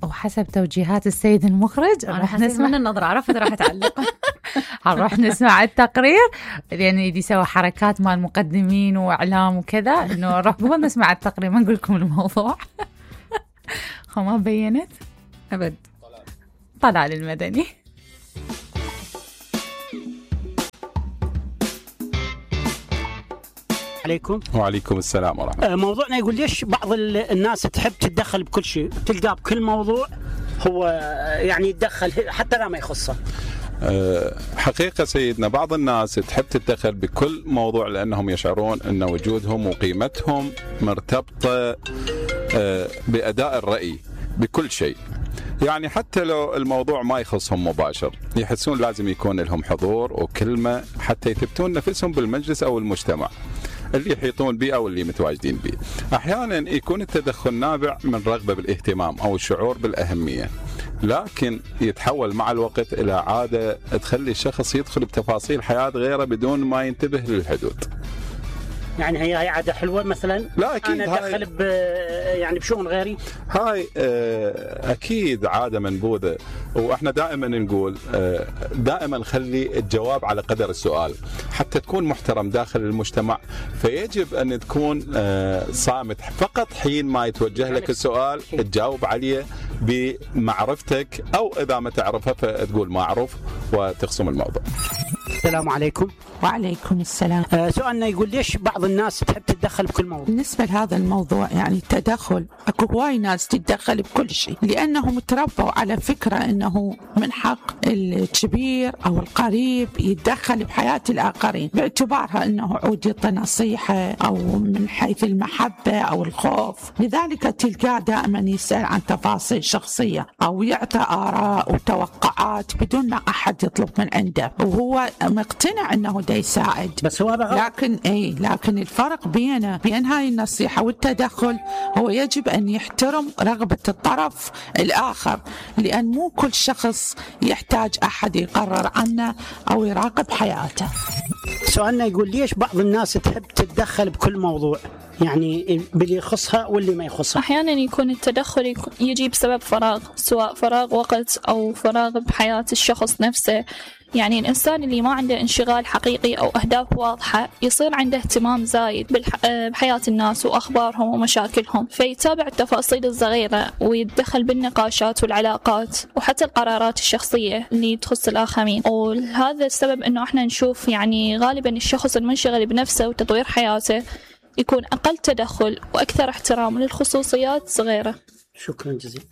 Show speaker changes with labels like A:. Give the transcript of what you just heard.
A: وحسب توجيهات السيد المخرج
B: أنا حسيت من النظرة عرفت راح تعلق.
A: هنروح نسمع التقرير، يعني دي سوى حركات مال مقدمين وإعلام وكذا، إنه نروح قبل نسمع التقرير ما نقول لكم الموضوع. ما بينت
B: أبد.
A: طلال المدني.
C: عليكم.
D: وعليكم السلام ورحمة الله.
C: موضوعنا يقول ليش بعض الناس تحب تتدخل بكل شيء، تلقاه بكل موضوع هو يعني يتدخل حتى لا ما يخصه.
D: حقيقة سيدنا بعض الناس تحب تتدخل بكل موضوع لأنهم يشعرون أن وجودهم وقيمتهم مرتبطة بأداء الرأي بكل شيء، يعني حتى لو الموضوع ما يخصهم مباشر يحسون لازم يكون لهم حضور وكلمة حتى يثبتون نفسهم بالمجلس أو المجتمع اللي يحيطون به أو اللي متواجدين به. أحيانا يكون التدخل نابع من رغبة بالاهتمام أو الشعور بالأهمية، لكن يتحول مع الوقت إلى عادة تخلي الشخص يدخل بتفاصيل حياة غيره بدون ما ينتبه للحدود.
C: يعني هي عادة حلوة مثلا؟
D: لا أكيد،
C: أنا أدخل يعني بشؤون غيري.
D: هاي أكيد عادة منبوذة، وإحنا دائما نقول دائما خلي الجواب على قدر السؤال حتى تكون محترم داخل المجتمع، فيجب أن تكون صامت فقط حين ما يتوجه لك السؤال تجاوب عليه بمعرفتك، أو إذا ما تعرفه فتقول ما أعرف وتخصم الموضوع.
C: السلام عليكم.
E: وعليكم السلام.
C: سؤالنا يقول ليش بعض الناس تحب تتدخل بكل موضوع؟
E: بالنسبة لهذا الموضوع يعني التدخل، اكو هواي ناس تتدخل بكل شيء لأنهم تربوا على فكرة أنه من حق الكبير أو القريب يتدخل بحياة الآخرين باعتبارها أنه عود يعطي نصيحة أو من حيث المحبة أو الخوف، لذلك تلقاه دائما يسأل عن تفاصيل شخصية أو يعطي آراء وتوقعات بدون ما أحد يطلب من عنده، وهو مقتنع أنه دا يساعد.
C: بس هو
E: لكن الفرق بين هاي النصيحة والتدخل هو يجب أن يحترم رغبة الطرف الآخر، لأن مو كل شخص يحتاج أحد يقرر عنه أو يراقب حياته.
C: سؤالنا يقول ليش بعض الناس تحب تتدخل بكل موضوع، يعني باللي يخصها واللي ما يخصها؟
F: أحيانا يكون التدخل يجي بسبب فراغ، سواء فراغ وقت أو فراغ بحياة الشخص نفسه. يعني الإنسان اللي ما عنده انشغال حقيقي أو أهداف واضحة يصير عنده اهتمام زايد بحياة الناس وأخبارهم ومشاكلهم، فيتابع التفاصيل الصغيرة ويتدخل بالنقاشات والعلاقات وحتى القرارات الشخصية اللي تخص الآخرين. وهذا السبب أنه احنا نشوف يعني غالبا الشخص المنشغل بنفسه وتطوير حياته يكون أقل تدخل وأكثر احترام للخصوصيات صغيرة.
C: شكرا جزيلا.